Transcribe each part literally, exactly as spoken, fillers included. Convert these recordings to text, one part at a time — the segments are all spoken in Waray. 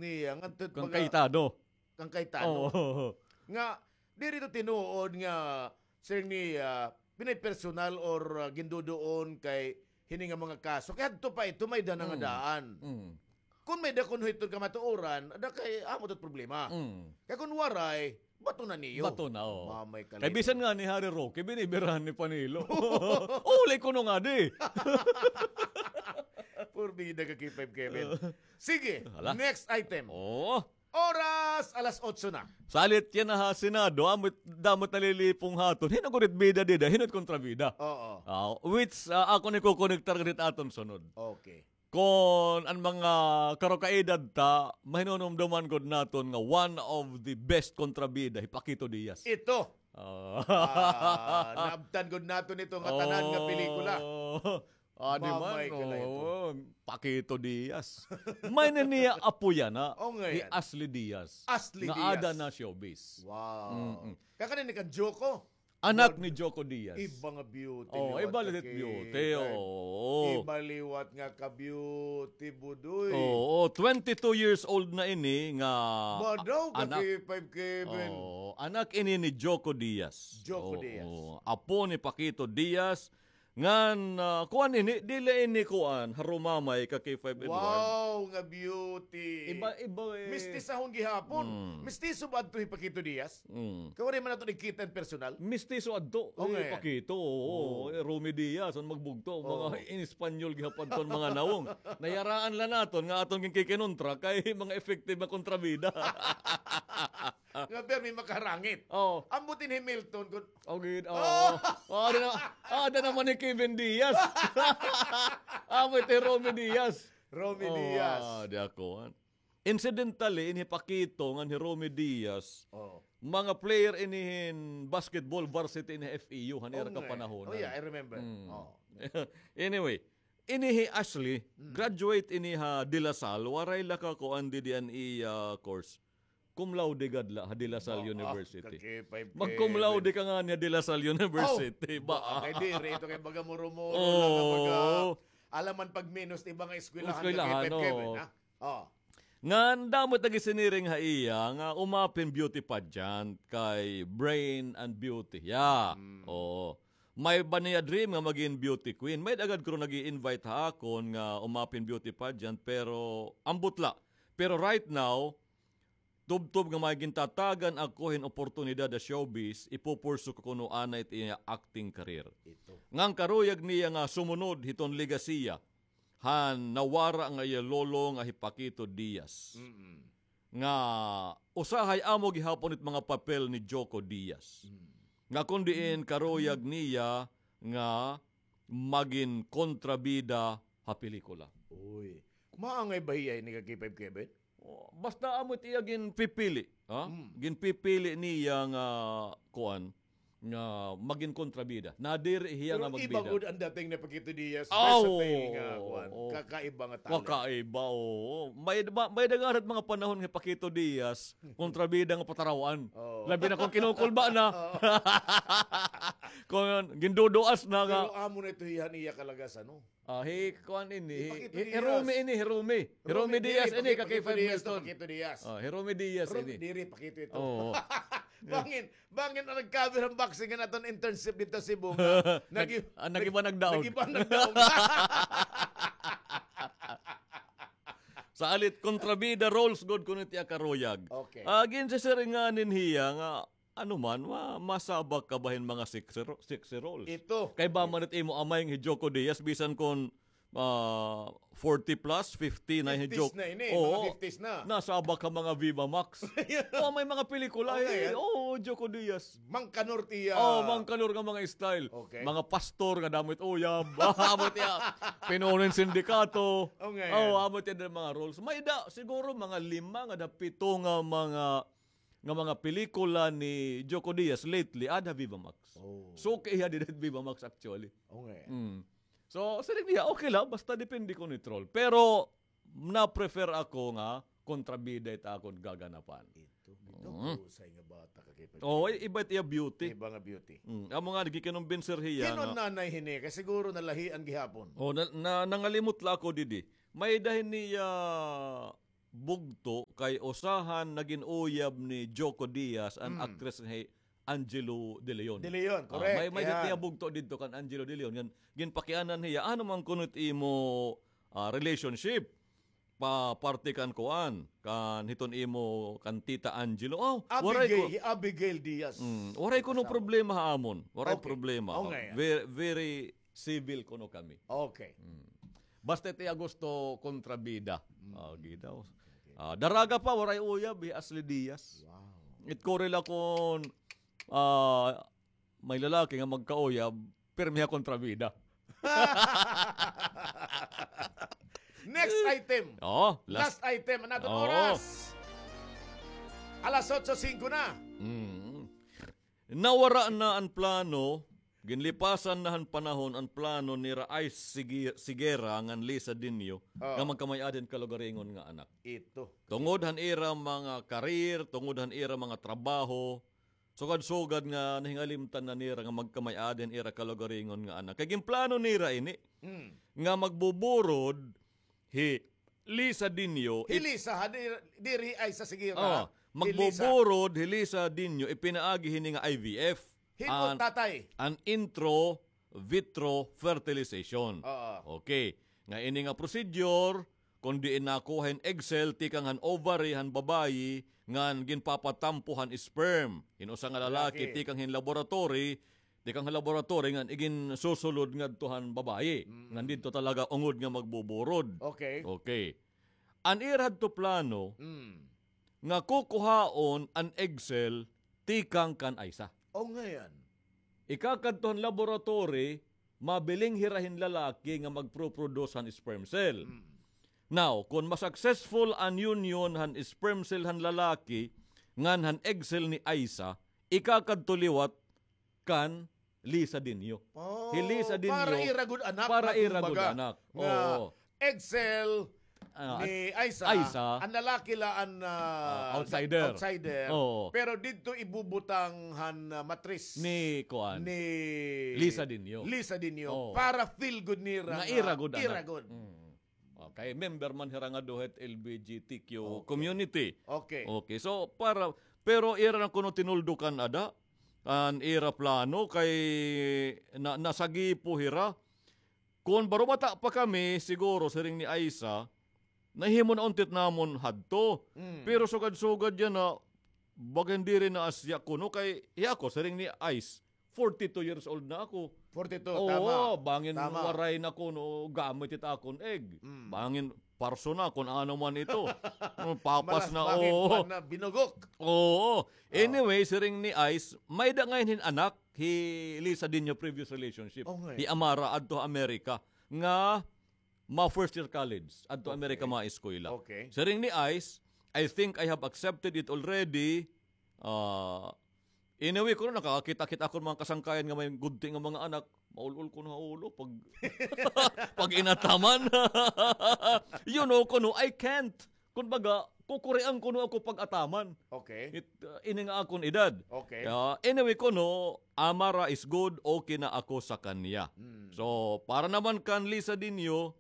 Iya, ngadto kan baga Cayetano. Kan Cayetano. Oo. Nga, diri to tinuod nga, Sir, ni, ah, pinapersonal or, ah, ginduduon kay hini nga mga kaso. Kay hadto pa ito, may-ada na nga daan. Mm. Kon may-ada kuno hiton kamatuoran, ada kay amo to't problema. Mm. Kay kon waray, bato na niyo. Bato na, oh. Mamay ka. Kay bisan nga ni Harry Roque, binibirahan ni Panelo. Uli kuno nga di. Porbida ka, K five Kevin. Sige, hala, next item. Oh. Oras, alas otso na. Salit yana ha Senado, amot, damo it nalilipong ha aton. Hin-o gud it bida dida, hin-o it kontrabida. Oo. Ah, which, ah, akon ikokonektar gud hit aton sunod. Okay. Kon an mga karukaedad ta, mahinunumduman gud naton nga one of the best kontrabida, hi Paquito Diaz. Ito. Ah. Ah, naabtan gud naton ito nga tanan nga pelikula. Oh. Ah, di man, mamay ka la ito. Oo, Paquito Diaz. May-ada ini nga apo yana. Oh, nga hi Ashley Diaz. Ashley Diaz. Nga ada na showbiz. Wow. Mm-mm. Kay kanan ini kan Joko. Anak ni Joko Diaz. Iba nga beauty. Oh, iba liwat it beauty, oo. Iba liwat nga ka-beauty, Budoy. Oo, twenty-two years old na ini nga anak. Badaw ka, K five Kevin. Oo, anak ini ni Joko Diaz. Joko Diaz. Oo, apo ni Paquito Diaz. Ngan, ah, kuan ini, dili ini kuan, harumamay ka K five Edward. Wow, nga beauty. Iba, iba, eh. Mistisahon gihapon. Mm. Mistiso ba adto hi Paquito Diaz? Mm. Kay waray man naton nakita in personal. Mistiso adto. Okay. Hi Paquito, oo. Oh. Eh, Romy Diaz, an magbugto, mga in Espanyol gihapon ton mga nawong. Nayaraan la naton nga aton ginkikinontra kay mga effective nga kontrabida. Nga permi makarangit. Oh. Ambot in Hamilton, kun... Oh, gid. Oh. Oh, ada na, ada naman ni Kevin Diaz. Amo ito, Romy Diaz. Romy Diaz. Ah, di ako, ah. Incidentally, ini hi Paquito ngan hi Romy Diaz, mga player ini hin basketball varsity ini F E U, han ira kapanahonan. Oh, yeah, I remember. Mm. Oh. Anyway, ini hi Ashley, graduate ini ha De La Salle, waray la kakuan didi an iya course. Cum laude gad la ha De La Salle University. Mag-cum laude ka ngani ha De La Salle University. Ba? Kay diri ito kay baga muro-muro la nga baga. Alam man pag minus iba nga eskwelahan, Kevin, ha? Oh. Ngan damo it nagisiniring ha iya nga umapin beauty pageant kay Brain and Beauty. Yeah. Oo. May-ada niya dream nga magin beauty queen. May-ada gad kuno nag-i-invite ha akon nga umapin beauty pageant, pero ambot la. Pero right now, tubtob nga may gintatagan ako hin oportunidad ha showbiz, ipupursu ko kuno anay it iya acting career. Ito. Ngan karuyag niya nga sumunod hiton legasiya han nawara nga iya lolo nga hi Paquito Diaz. Mm-mm. Nga usahay amo gihapon it mga papel ni Joko Diaz. Mm. Nga kon diin karuyag niya nga magin kontrabida ha pelikula. Uy. Maangay ba hiya ini ka K five Kevin? Oh, basta amo it iya ginpipili, ha? Mm. Ginpipili niya nga, kuan, nga magin kontrabida. Nadiri hiya nga magbida. Pero iba gud an dating ni Paquito Diaz. Oh, versatility nga, kuan, oo. Kakaiba nga talent. Kakaiba, oo. May, ma-, may-ada gad mga panahon nga Paquito Diaz, kontrabida nga pataraw-an. Oo. Labi na kon kinukulba na. Oo. Kon ginduduas na nga. Pero amo na ito hiya, iya kalagasan, no? Ah, hi kuan ini, hi, hi Romy ini, hi Romy. Hi Romy Diaz ini, ka K five Milton. Paquito Diaz. Ah, hi Romy Diaz ini. Diri, Paquito ito. Oo. Bangin, bangin an nag-cover han boxing han aton internship didto ha Cebu nga nag-, nag-iba nagdaog. Nag-iba nagdaog. Salit, kontrabida roles gud kuno it iya karuyag. Okay. Ah, ginsisiring nganin hiya nga ano man, ma-, masabak ka ba hin mga sexy ro-, sexy roles? Ito. Kay ba man it imo amay nga hi Joko Diaz, bisan kon, ah, forty plus, fifty na hi Joko. Fifties na ini, mga fifties na. Oo. Nasabak ka mga Viva Max. Oo, may mga pelikula, eh. Oo, Joko Diaz. Mangkanor tiya. Oo, mangkanor nga mga style. Okay. Mga pastor nga damo it uyab. Amo tiya. Pinuno hin sindikato. Okay. Oo, amo tiya mga roles. May-ada, siguro mga lima nga da pito nga mga nga mga pelikula ni Joko Diaz lately, ada ha Viva Max. Oh. Suki hiya dida ha Viva Max, actually. Okay. Mm. So, siring niya, okay la, basta depende kuno it role. Pero, na-prefer ako nga kontrabida it akon gaganapan. Ito, ito, husay nga bata ka kay... Oo, iba it iya beauty. Iba nga beauty. Mm. Amo nga, gikinumbinser hiya nga. Hin-o an nanay hini, kay siguro nalahian gihapon. Oh, na, na, nangalimot la ako didi. May-ada hini, ah, bugto kay usa han nagin uyab ni Joko Diaz, an actress nga hi Angelo De Leon. De Leon, correct. May, may niya bugto didto kan Angelo De Leon. Ngan, ginpakianan hiya, ano man kuno it imo, ah, relationship? Pa parte kan kuan, kan hiton imo kan Tita Angelo. Oh, waray ko. Abigail, hi Abigail Diaz. Mm, waray kuno problema ha amon. Waray problema. Okay. Very, very civil kuno kami. Okay. Mm. Basta it iya gusto kontrabida. Mm. Ah, gidaw. Okay. Ah, daraga pa, waray uyab, hi Ashley Diaz. Wow. It kuri la kon, ah, may lalaki nga magkauyab, pirmi ha kontrabida. Next item. Oh, last item. An aton oras. Alas otso singko na. Mm. Nawara na an plano, ginlipasan na han panahon an plano nira Ice Sige-, Sigera ngan Lisa Dinio nga magkamay-ada hin kalugaringon nga anak. Ito. Tungod han ira mga career, tungod han ira mga trabaho, sugad-sugad nga nahingalimtan na nira nga magkamay-ada hin ira kalugaringon nga anak. Kay ginplano nira ini nga magbuburod hi Lisa Dinio. Hi Lisa, ha? Di, diri hi Aiza Sigera. Oh, hi Lisa. Magbuburod hi Lisa Dinio, ipinaagi hini nga I V F. Himo, tatay. An intro vitro fertilization. Oo. Okay. Nga ini nga procedure, kon diin nakuha hin egg cell tikang han ovary han babayi, ngan ginpapatampo han sperm hin usa nga lalaki tikang hin laboratory, tikang han laboratory ngan iginsusulod ngadto han babayi. Mm. Ngan didto talaga ungod nga magbuburod. Okay. Okay. An ira hadto plano, nga kukuhaon an egg cell tikang kan Aiza. O, ngayan. Ikakadto han laboratory, mabiling hira hin lalaki nga magproproduce han sperm cell. Mm. Now, kon ma-successful an union han sperm cell han lalaki ngan han egg cell ni Aiza, ikakadto liwat kan Lisa Dinio. Oh, hi Lisa Dinio, para ira gud anak, para ira gud anak. Nga, oo, egg cell ni Aiza, an lalaki la an, ah, outsider. Outsider. Oo. Pero didto ibubutang han, ah, matris ni kuan, ni Lisa Dinio. Lisa Dinio. Oo. Para feel good nira nga ira gud anak. Ira gud. Mm. Okay, member man hira nga duha hit L G B T Q community. Okay. Okay, so para, pero ira na kuno tinuldukan ada an ira plano kay na, nasagipo hira. Kon barubata pa kami, siguro, siring ni Aiza, nahimo na unti it namon hadto. Mm. Pero sugad-sugad yana, baga diri na asya kuno kay, hi ako, siring ni Ice, forty-two years old na ako. Forty-two, tama. Oo, bangin waray na kuno gamit it akon egg. Mm. Bangin parso na kun ano man ito. Oh, papas na, oo. Malas bangin, kuan na, binugok. Oo. Anyway, siring ni Ice, may-ada ngay-an hin anak, hi Lisa Dinio previous relationship. Okay. Hi Amara, adto ha Amerika. Nga, ma-first year college, adto Amerika, ma-eskwela. Okay. Siring ni Ice, "I think I have accepted it already." Ah, anyway, kuno nakakakita-kita akon mga kasangkayan nga may gudti nga mga anak, maul-ol kuno ha ulo pag, pag inataman. You know, kuno, I can't. Kumbaga, kukurian kuno ako pag-ataman. Okay. It, uh, ini nga akon edad. Okay. Ah, anyway, kuno, Amara is good, okay na ako sa kanya. Hmm. So, para naman kan Lisa Dinio,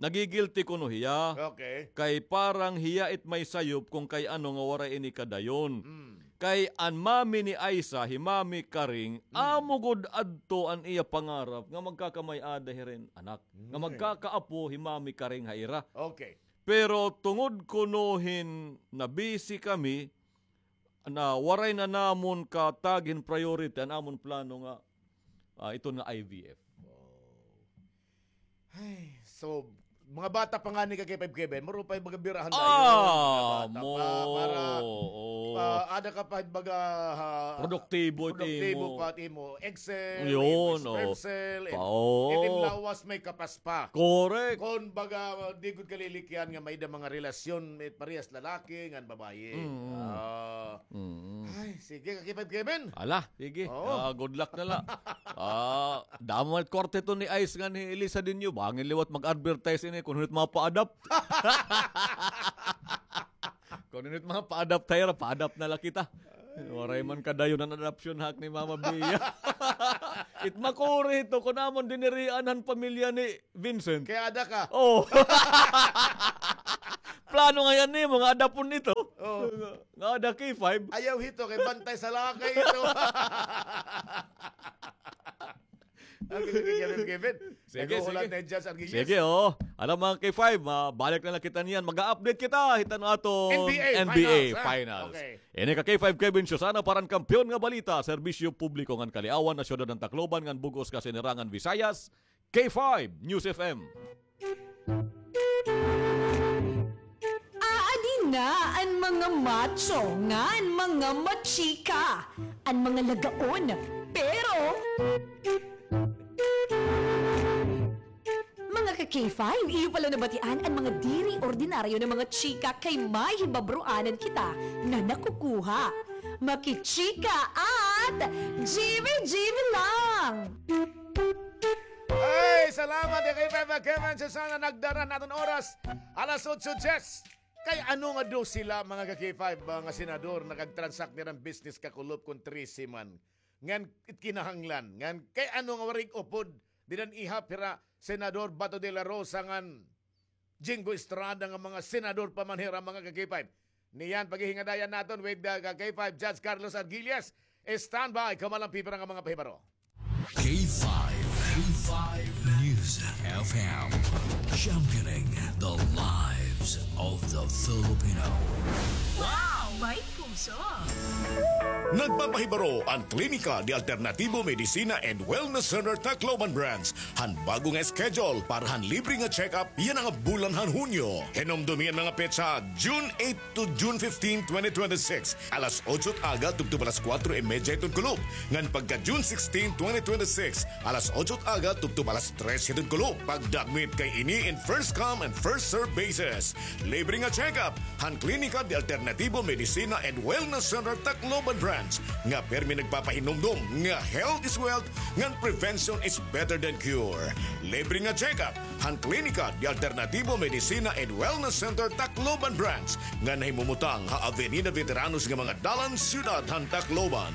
nagigilti kuno hiya. Okay. Kay parang hiya it may sayop kon kay ano nga waray ini kadayon. Hmm. Kay an mami ni Aiza, hi Mami Karing, amo gud adto an iya pangarap nga magkakamay-ada hira hin anak. Nga magkakaapo hi Mami Karing ha ira. Okay. Pero tungod kuno hin na-busy kami, na waray na namon katag hin priority an amon plano nga, ah, iton nga I V F. Oh. Ay, so, mga bata pa ngani ka, K five Kevin, maro pa hin baga birahan dayon. Ah, mga bata pa, para, oo, ah, ada ka pa hin baga, ah, produktibo, produktibo pa it imo egg cell, imo sperm cell, it imo lawas may kapas pa. Correct. Kon baga, di gud ka lilikyan nga may-ada mga relasyon, it parehas lalaki ngan babayi. Mm. Ah. Mm. Ay, sige, ka K five Kevin. Ala, sige. Oo. Ah, good luck na la. Ah, damo it korte to ni Ice ngan hi Lisa Dinio. Bangin liwat mag-advertise ini kun hunit mapa-adopt. Kun hunit mapa-adopt hira, pa-adopt na la kita. Waray man kadayon an adoption hak ni Mama Bia. It makuri ito kun amon dinirian han pamilya ni Vincent. Kay ada ka. Oh. plano ngay-an nimo nga adapon ito. Oo. Nga ada K five. Ayaw hito, kay bantay sa lakay ito. Okay, okay, Kevin, Kevin. Sige, naghuhulat sige. Na hi Jazz Arguelles. Sige, oo. Alam, mga K five, mabalik na la kita niyan. Mag-a-update kita hiton aton N B A N B A finals, ha? Finals. Okay. Ini ka K five, Kevin Susana, para han Kampiyon nga Balita, Serbisyo Publiko ngan Kaliawan, ha siyudad han Tacloban ngan bug-os ka sinirangan Visayas, K five News F M. Aadi na an mga macho ngan mga machika, an mga lagaon, pero mga ka K five, iyo pala nabatian an mga diri ordinaryo nga mga chika kay may hibabroanan kita nga nakukuha. Makichika at G B G B lang! Ay, salamat, K five Kevin Susana, nagdara an aton oras. Alas otso diyes. Kay ano nga daw sila, mga ka K five, mga senador, nakag-transact nira hin business kakulop kon trese man? Ngan it kinahanglan. Ngan kay ano nga waray upod dida han ihap hira Senador Bato de la Rosa ngan Jinggoy Estrada nga mga senador pa man hira, mga ka K five. Niyan paghihingadayan naton with the ka K five Judge Carlos Arguelles. Standby, kamo la an pipira nga mga pahibaro. K five, K five News F M, championing the lives of the Filipino. Wow, may puso! Nagpapahibaro an Klinika de Alternativo Medicina and Wellness Center Tacloban Branch han bag-o nga schedule para han libre nga check-up yana nga bulan han Hunyo. Hinumdomi an mga petsa, June eight to June fifteen, twenty twenty-six, alas otso it aga tubtob alas kuwatro y medya hiton kulop. Ngan pagka June sixteen, twenty twenty-six, alas otso it aga tubtob alas tres hiton kulop. Pagdakmit kay ini in first come and first serve basis. Libre nga check-up han Klinika de Alternativo Medicina and Wellness Center Tacloban Branch nga pirmi nagpapahinumdom nga health is wealth ngan prevention is better than cure. Libre nga check-up han Klinika de Alternativo Medicina and Wellness Center Tacloban Branch nga nahimumutang ha Avenida Veteranos nga mga dalan, siyudad han Tacloban.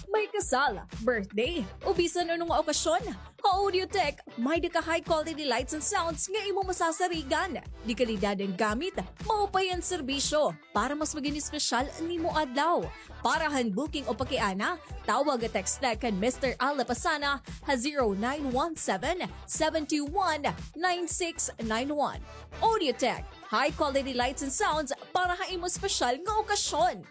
May kasal, birthday, o bisan ano nga okasyon, ha Audiotech, may-ada ka high quality lights and sounds nga imo masasarigan. De kalidad an gamit, maupay an serbisyo. Para mas maging espesyal an imo adlaw. Para han booking o pakiana, tawag o text kan Mister Al Lapasana ha zero nine one seven, seven two one, nine six nine one. Audiotech, high quality lights and sounds para ha imo espesyal nga okasyon.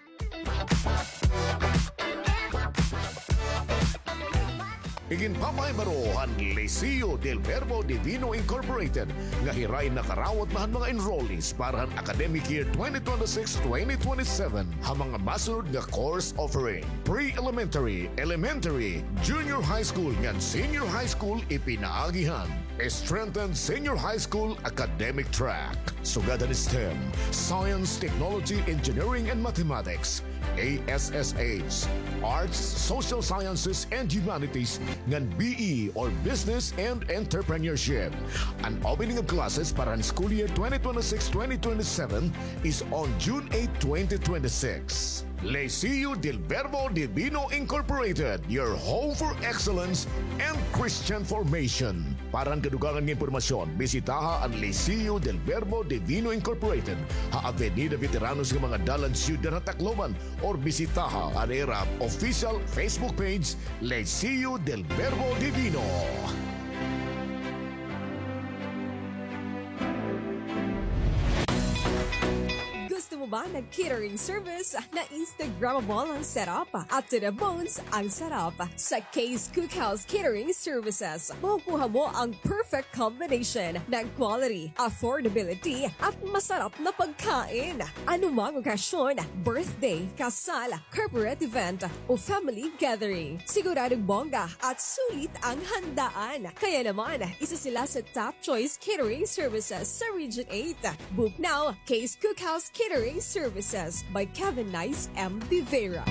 Iginpapahibaro han Liceo del Verbo Divino Incorporated nga hira in nakarawat na han mga enrollees para han academic year twenty twenty-six, twenty twenty-seven ha mga masunod nga course offering: pre-elementary, elementary, junior high school ngan senior high school, ipinaagi han strengthened senior high school academic track, sugad han STEM, Science, Technology, Engineering, and Mathematics, A S S H, Arts, Social Sciences, and Humanities, ngan B E or Business and Entrepreneurship. An opening of classes para han school year twenty twenty-six, twenty twenty-seven is on June eight, twenty twenty-six. Liceo del Verbo Divino Incorporated, your home for excellence and Christian formation. Para han kadugangan nga impormasyon, bisitaha an Liceo del Verbo Divino Incorporated ha Avenida Veteranos nga mga dalan, siyudad han Tacloban, or bisitaha an ira official Facebook page, Liceo del Verbo Divino. Gusto mo ba ng catering service na Instagrammable ang setup at to the bones ang sarap? Sa Kay's Cookhouse Catering Services, makukuha mo ang perfect combination ng quality, affordability, at masarap na pagkain. Anumang okasyon, birthday, kasal, corporate event, o family gathering, siguradong bongga at sulit ang handaan. Kaya naman, isa sila sa top choice catering services sa Region eight. Book now, Kay's Cookhouse Catering Services by Kevin Nice M. Vivera.